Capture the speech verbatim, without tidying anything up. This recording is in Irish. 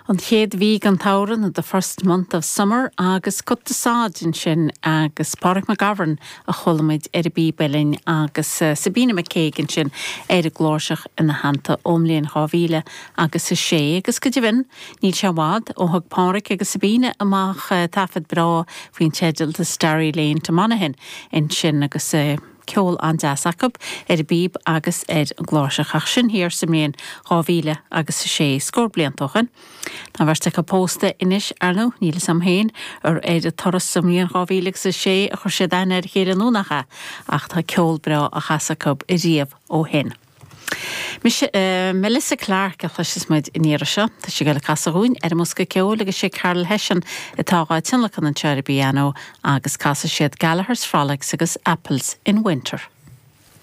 An chéad mhí den tsamhradh the first month of summer agus Cut the Sod ansin agus Pádraig McGovern a chuala muid ar an bpíb uilleann agus uh, Sabina McCaig ansin ar an gcláirseach ina theannta ón mbliain dhá mhíle agus a sé agus go deimhin níl sé i bhfad ó thug Pádraig agus Sabina amach uh, taifead breá faoin teideal The Starry Lane to Monaghan ansin agus uh, ceol an-deas acu ar an bpíb agus ar an gcláirseach ach sin thiar sa mbliain dhá mhíle agus a sé scór blianta ó shin. Tá beirt acu pósta anois arnú níl sam féin ar ar a turas sa mbliain dhá mhíle agus a sé a chuir siad aithne ar a chéile nó nach ea ach tá ceol breá á chasadh acu ariamh ó shin. Uh, Melissa Clark a chloisfidh muid an iarraidh seo, Tá sí le casadh dúinn ar an mbosca ceoil agus sé Carol Hession atá á tionlacan anseo ar an bpianó agus casfaidh siad Gallagher's Frolics agus Apples in Winter.